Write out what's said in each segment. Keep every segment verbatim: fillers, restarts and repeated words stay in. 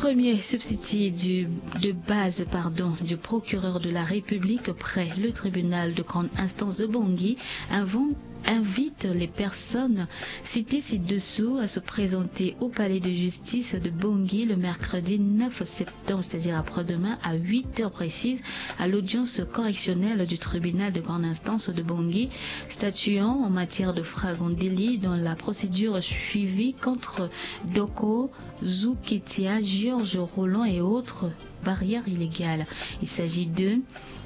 Premier substitut du, de base, pardon, du procureur de la République près le tribunal de grande instance de Bangui invo-, invite les personnes citées ci-dessous à se présenter au palais de justice de Bangui le mercredi neuf septembre, c'est-à-dire après-demain, à huit heures précises, à l'audience correctionnelle du tribunal de grande instance de Bangui, statuant en matière de flagrant délit dans la procédure suivie contre Doko Zouketia, Georges Roland et autres, barrière illégale. Il s'agit de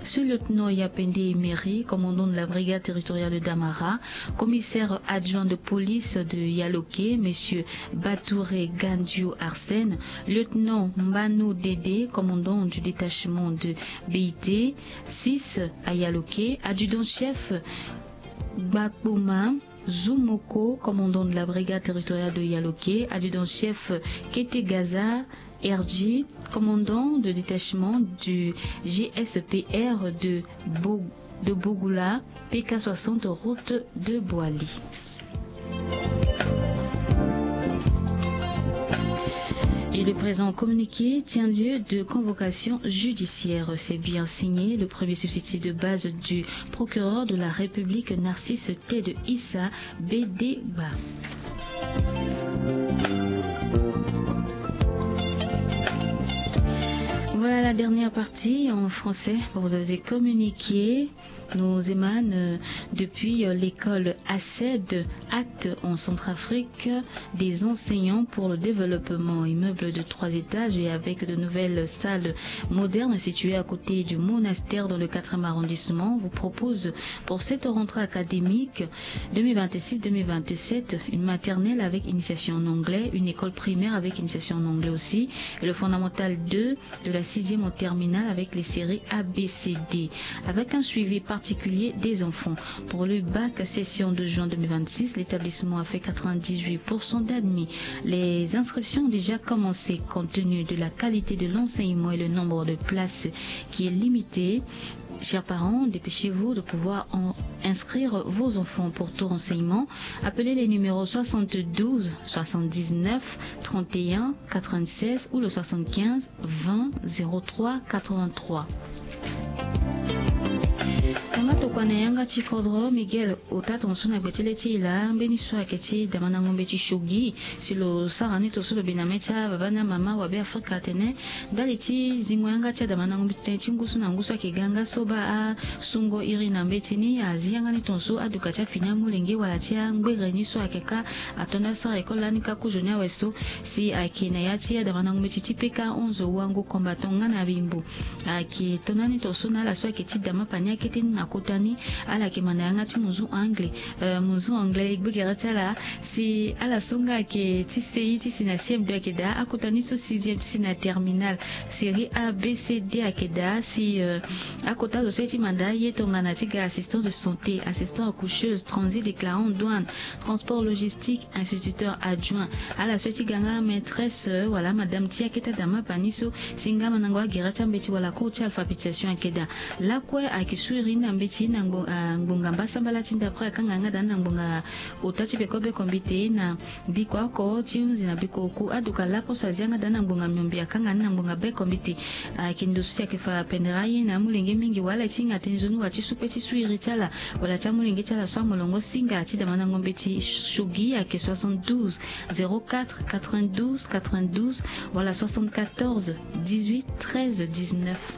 sous-lieutenant Yapende Emery, commandant de la brigade territoriale de Damara, commissaire adjoint de police de Yaloké, monsieur Batouré Gandiou Arsène, lieutenant Mbano Dédé, commandant du détachement de B I T six à Yaloké, adjudant-chef Gbakpoma Zoumoko, commandant de la brigade territoriale de Yaloké, adjudant-chef Kete Gaza R G, commandant de détachement du G S P R de Bo-, de Bogoula, P K soixante, route de Boali. Et le présent communiqué tient lieu de convocation judiciaire. C'est bien signé le premier substitut de base du procureur de la République, Narcisse Ted Issa Bedeba. Voilà la dernière partie en français pour vous avez communiqué. Nous émane, euh, depuis, euh, l'école ACED, Acte en Centrafrique, des enseignants pour le développement. Immeuble de trois étages et avec de nouvelles salles modernes situées à côté du monastère dans le quatrième arrondissement vous propose pour cette rentrée académique deux mille vingt-six deux mille vingt-sept une maternelle avec initiation en anglais, une école primaire avec initiation en anglais aussi, et le fondamental deux de la sixième en terminale avec les séries A B C D, avec un suivi particulier des enfants. Pour le bac session de juin deux mille vingt-six, l'établissement a fait quatre-vingt-dix-huit pour cent d'admis. Les inscriptions ont déjà commencé compte tenu de la qualité de l'enseignement et le nombre de places qui est limité. Chers parents, dépêchez-vous de pouvoir en-, inscrire vos enfants. Pour tout renseignement, appelez les numéros soixante-douze soixante-dix-neuf trente et un quatre-vingt-seize ou le soixante-quinze vingt zéro trois quatre-vingt-trois. Tanga tokua na yanga ti kodro Miguel, ota tongaso na gbe ti le ti e laa, mbeni so ayeke ti damandango mbeti Shogi. Si lo sara ni tongaso lo bi na mê ti ababa na mama wabe Afrika atene ndali ti zingo yanga ti adamandango mbeti tënë ti ngu so na ngu so ayeke ga nga so baa asungo iri na mbeti ni, azi yanga ni tongaso aduka ti afini amolenge wala ti angbere ni so ayeke kâ ato nda asara école lani kâ kozo ni awe so. Si ayeke na ya ti adamandango mbeti ti P K onze Wango Combattant nga na Bimbo. Ayeke to na ni tongaso na ala so ayeke ti dama pani akete ni na kota ni. Ala yeke manda yanga ti munzu anglais, euh, munzu anglais e gbu gere ti ala. Si ala so nga ayeke ti C I ti si na C M deux ayeke daa, akota ni so sixième ti si na terminale, série A B C D ayeke daa. Si, euh, akota zo so ye ti manda aye tongana ti ga assistant de santé, assistant accoucheuse, transit déclarant, douane, transport logistique, instituteur adjoint. Ala so ye ti ga nga maîtresse, euh, wala madame ti akete adama pani so, si nga mandango agere ti ambeti wala cours ti alphabétisation ayeke daa. Lakue ayeke su iri ni na mbeti na ngbo-, ah, ngbonga mbasambala ti ndapre akanga yanga daa ni na ngbonga ota ti beko beko mbite na biko oko ti hunzi na biko oku aduka lapo so azi yanga daa ni na ngbonga miombe akanga ni na ngbonga beko mbite. Ayeke ndo so si ayeke fa pendere aye na amolenge mingi wala ti hinga tënë nzoni wala ti su kpe ti su iri ti ala wala ti amolenge ti ala so amolongo singa ti damandango mbeti Shogi ayeke soixante-douze zéro quatre quatre-vingt-douze quatre-vingt-douze wala soixante-quatorze dix-huit treize dix-neuf.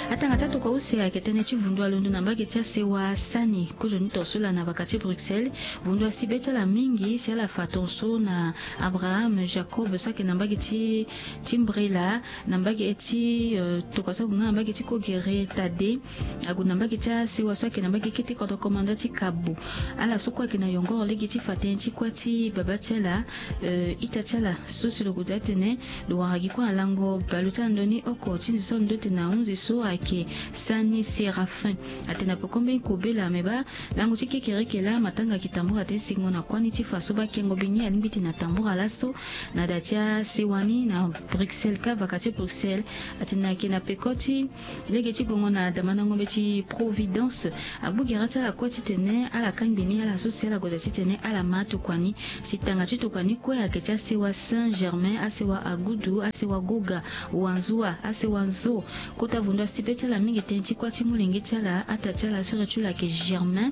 Atanga ti atokua use ayeke tënë ti vundu alondo na mbage ti asewa sani kozoni tongaso laa na vaka ti Bruxelles. Vundu asi be ti ala mingi si ala fa tongaso na Abraham Jacob so ayeke na mbage ti, ti Mbrela, na mbage ti, euh, tokua so ague nga na mbage ti Kogere Tade. Ague na mbage ti asewa so ayeke na mbage kete kodro komanda ti Kabo. Ala so kue ayeke na yongoro lege ti fa tënë ti kuâ ti baba ti ala, euh, ita ti ala so si lo gue daa atene lo wara gi kue na lango baleota na ndö ni oko ti zi so alondo tene ahunzi so ayeke Sani Séraphin. Atene na peko mbeni kobela me baa lango ti kekereke laa matanga ayeke tambula tënë sikingo na kuâ ni ti fa so baa kengo bini alingbi ti tene atambula laso na da ti asewa ni na Bruxelles, kavaka ti Bruxelles. Atene ayeke na peko ti lege ti gongo na damandango mbeti Providence. Agbu gere ti ala kue titene ala kangbi ni ala so si ala gue daa titene ala ma tokua ni. Si tanga ti tokua ni kue ayeke ti asewa Saint-Germain, asewa Agudu, asewa Goga, Wanzua, asewa Nzo. Kota vundu asi be ti ala mingi tënë ti kuâ ti molenge ti ala, ata ti ala so iri ti lo ayeke Germain,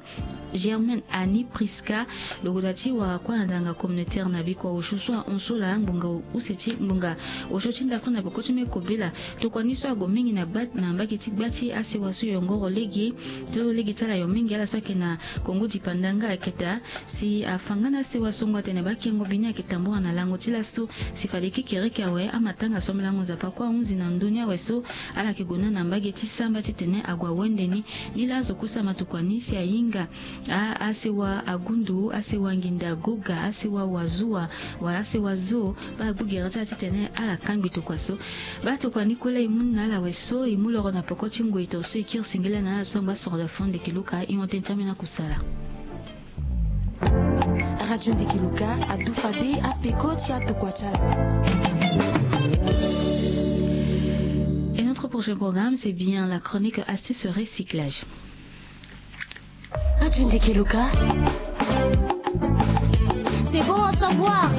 Germaine Annie Prisca. Lo gue daa ti wara kuâ na danga communautaire na bikua osio so ahon so laa ngbonga use ti ngbonga osio ti ndafrique na peko ti me kobela. Tokua ni so ague mingi na gba na mbage ti gba ti asewa so yongoro lege so lege ti ala yo mingi ala so ayeke na Congo dipandanga ayeke daa. Si afa nga na asewa songo atene baa kengo bini ayeke tambula na lango ti laso. Si fade kekereke awe amatanga so amelango Nzapa kue ahunzi na ndö ni awe so ala yeke gue na na mbage ti samba titene ague awende ni. Ni laa azo kue so ama tokua ni si ahinga a asewa Agundu, asewa Nginda Goga, asewa Wazua, wala asewa Zo. Baa agbu gere ti ala titene ala kangbi tokua so. Baa tokua ni kue laa e mu ni na ala awe so e mu loro na peko ti ngoi to so e kiri singila na ala so angba soro da fo ndeke luka e hon tënë ti ambeni akusala. Radio Ndeke Luka adu fade apeko ti atokua ti ala. Et notre prochain programme, c'est bien la chronique astuce recyclage. Radio Ndeke Luka. C'est bon à savoir.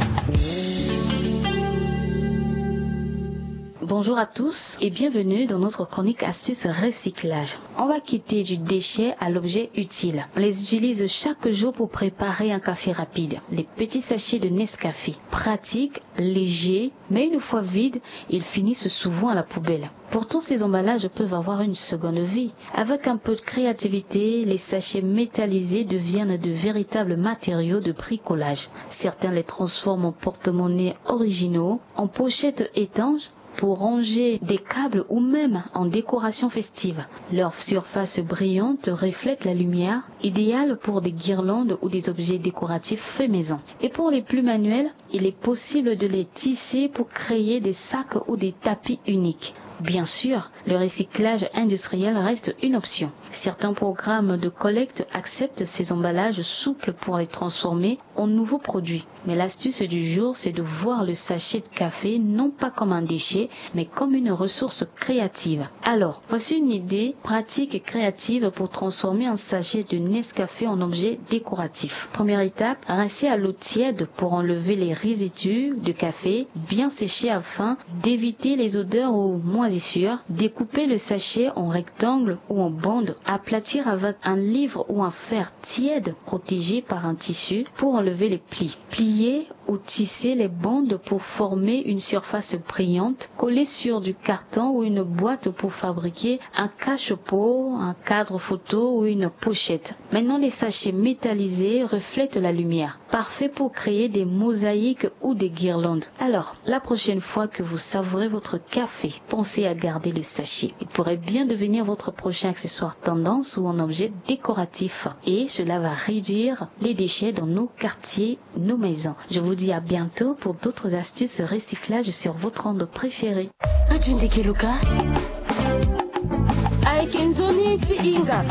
Bonjour à tous et bienvenue dans notre chronique astuce recyclage. On va quitter du déchet à l'objet utile. On les utilise chaque jour pour préparer un café rapide. Les petits sachets de Nescafé. Pratique, léger, mais une fois vides, ils finissent souvent à la poubelle. Pourtant, ces emballages peuvent avoir une seconde vie. Avec un peu de créativité, les sachets métallisés deviennent de véritables matériaux de bricolage. Certains les transforment en porte-monnaie originaux, en pochettes étanches, pour ranger des câbles ou même en décoration festive. Leur surface brillante reflète la lumière, idéale pour des guirlandes ou des objets décoratifs faits maison. Et pour les plus manuels, il est possible de les tisser pour créer des sacs ou des tapis uniques. Bien sûr, le recyclage industriel reste une option. Certains programmes de collecte acceptent ces emballages souples pour les transformer en nouveaux produits. Mais l'astuce du jour, c'est de voir le sachet de café non pas comme un déchet, mais comme une ressource créative. Alors, voici une idée pratique et créative pour transformer un sachet de Nescafé en objet décoratif. Première étape, rincer à l'eau tiède pour enlever les résidus de café bien séchés afin d'éviter les odeurs ou moisissures. Découpez le sachet en rectangle ou en bande. Aplatir avec un livre ou un fer tiède protégé par un tissu pour enlever les plis. Plier ou tisser les bandes pour former une surface brillante. Coller sur du carton ou une boîte pour fabriquer un cache-pot, un cadre photo ou une pochette. Maintenant, les sachets métallisés reflètent la lumière. Parfait pour créer des mosaïques ou des guirlandes. Alors, la prochaine fois que vous savourez votre café, pensez à garder le sachet. Il pourrait bien devenir votre prochain accessoire tendance ou un objet décoratif. Et cela va réduire les déchets dans nos quartiers, nos maisons. Je vous dis à bientôt pour d'autres astuces recyclage sur votre onde préférée. Radio Ndeke Luka. Ayeke nzoni ti hinga.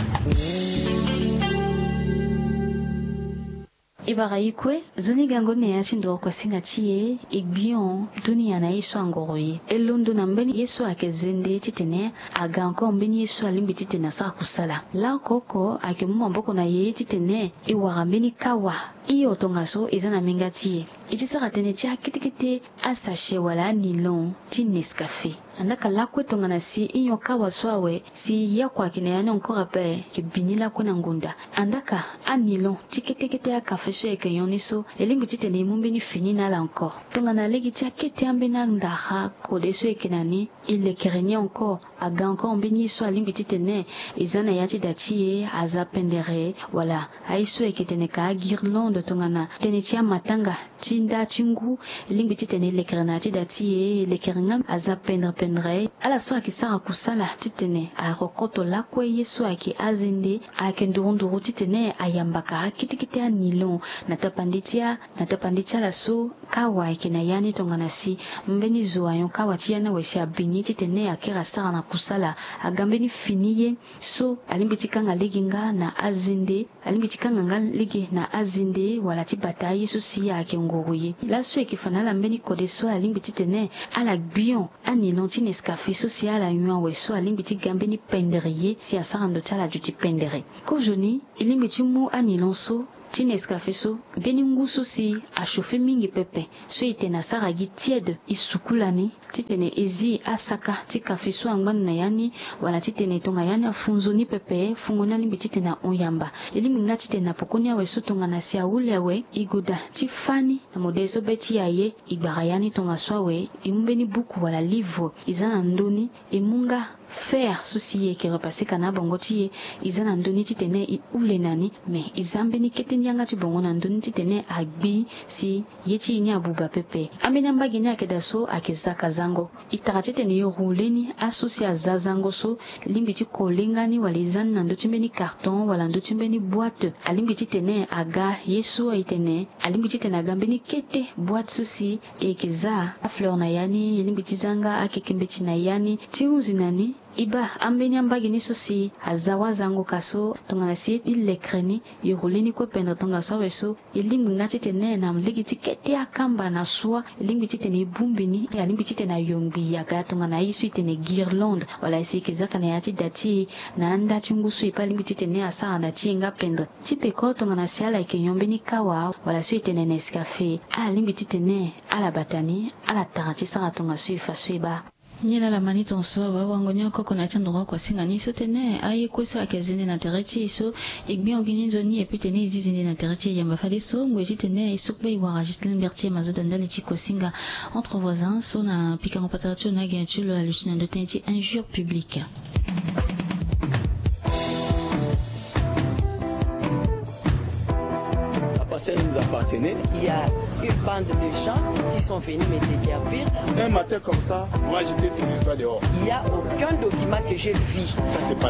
E bara e kue, nzoni gango ni na ya ti ndoro kuasinga ti e, e gbion dunia na ye so angoro ye. E londo na mbeni ye so ayeke zende titene aga encore mbeni ye so alingbi titene asara kusala. Laoko oko ayeke mu maboko na ye titene e wara mbeni kawa. Hio tongaso e za na minga ti e. E ti sara tënë ti akete kete asachet wala anilon ti Nescafé. Andaka lakue tongana si hio kawa so awe si ye oko ayeke na ya ni encore ape, e yeke bi ni lakue na ngonda. Andaka anilon ti kete kete akafe so e yeke nyon ni so, e lingbi titene e mu mbeni fini na ala encore. Tongana lege ti akete ambeni andara kode so e yeke na ni, e lekere ni encore. Aga encore mbeni ye so alingbi titene e za na ya ti da ti e, aza pendere, wala aye so e yeke tene ka aguirlande tongana tënë ti amatanga ti nda ti ngu, e lingbi titene e lekere na ya ti da ti e, e lekere nga aza pendere pendere. Ala so ayeke sara kusala titene arokoto lakue ye so ayeke azende, ayeke nduru nduru titene ayambaka akete kete anilon na tapande ti a, na tapande ti ala so kawa ayeke na ya ni tongana si mbeni zo ayon kawa ti ya ni awe si abi ni titene akiri asara na kusala. Aga mbeni fini ye so alingbi ti kanga lege nga na azende, alingbi ti kanga nga lege na azende wala ti bata aye so si ayeke nguru ye. Laso e yeke fa na ala mbeni kode so alingbi titene ala gbion anilon ti Nescafé so si ala nyon awe so alingbi ti ga mbeni pendere ye si asara ndo ti ala duti pendere. Kozoni e lingbi ti mu anilon so ti Nescafé so mbeni ngu so si achauffer mingi pepe, so e tene asara gi tiède, e sukula ni titene e zi asaka ti café so angba ndo na ya ni, wala titene tonga ya ni afu nzoni pepe, fungo ni alingbi titene ahon yamba. E lingbi nga titene na pokoni awe so tongana si ahule awe, e goda ti fâ ni na modèle so be ti e aye. E gbara ya ni tongaso awe, e mu mbeni buku wala livre, e za na ndö ni, e mu nga fer so si e yeke repasser ka na abongo ti e, e za na ndö ni titene e hule na ni. Me e za mbeni kete ni yanga ti bongo na ndö ni titene agbi si ye ti e ni abuba pepe. Ambeni ambage ni ayeke daa so ayeke zaka zango. E tara titene e rouler ni, aso si aza zango so, e lingbi ti kole nga ni wala e za ni na ndö ti mbeni carton wala ndö ti mbeni boîte. Alingbi titene aga ye so e tene, alingbi titene aga mbeni kete boîte so si e yeke za afleur na ya ni, e lingbi ti za nga akeke mbeti na ya ni ti hunzi na ni. E baa ambeni ambage ni so si aza wazango ka so tongana si e lekere ni, e rouler ni kue pendere tongaso awe so, e lingbi nga titene na lege ti kete akamba na soi, e lingbi titene e bongbi ni, alingbi titene ayongbi aga tongana aye so e tene guirlande, wala si e yeke zaka na ya ti da ti e na anda ti ngu so e pe alingbi titene asara na ti e nga pendere. Ti peko tongana si ala yeke nyon mbeni kawa wala so e tene Nescafé, alingbi titene ala bata ni, ala tara ti sara tongaso e fa so e baa. Nilala ma ni tongaso awe, awango ni oko oko na ya ti andoro oko asinga ni so tene aye kue so ayeke zende na tere ti e so e gbiongo gi ni nzoni e pe tene e zi zende na tere ti e yamba. Fadeso ngoi titene e so kpe e wara Ghislaine Berthier Mazoda ndali ti kosinga entre voisins so na pikango patara ti lo na agen ti lo aluti na ndö tënë ti injure publique. La parcelle nous appartenait. Il y a une bande de gens qui sont venus me déguerpir. Un matin comme ça, moi j'étais tout juste dehors. Il n'y a aucun document que j'ai vu. Ça, c'est pas